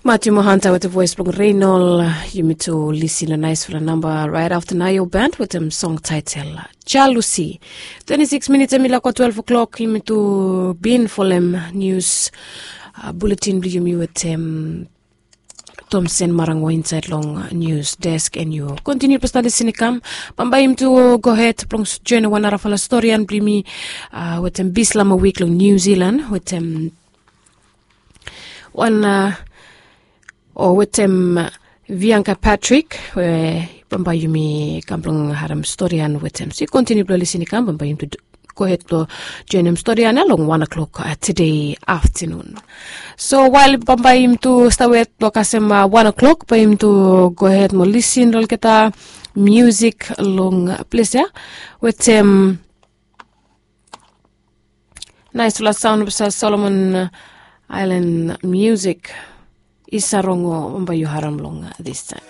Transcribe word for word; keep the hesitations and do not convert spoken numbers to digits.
Matiu mohanta wetem voes blong reinol. Yumi tu lisin long naisfala namba rait afta naio band wetem song taitel jalusi. Twenti sikis minits em i lako twelve o'klok yumi tu bin folem nius buletin blong yumi wetem tomsen marango insaed long nius desk en yu kontiniu blong stadi sinikam. Bambae yumi tu gohed blong joen wan narafala storian blong yumi wetem bislama wik long niu zilan wetem wan o wetem vianka patrik we bambae yumi kam blong harim storian wetem so yu kontiniu blong lisin i kam bambae yumi tu gohed blong joenem storian ya long wan o'klok tede aftanun. So wael bambae yumi tu stawet blong kasem wan o'klok bae yumi tu gohed mo lisin long olgeta musik long ples ya wetem naisfala saon blong solomon ailan musik i sarongo bambae yu harim long distaem.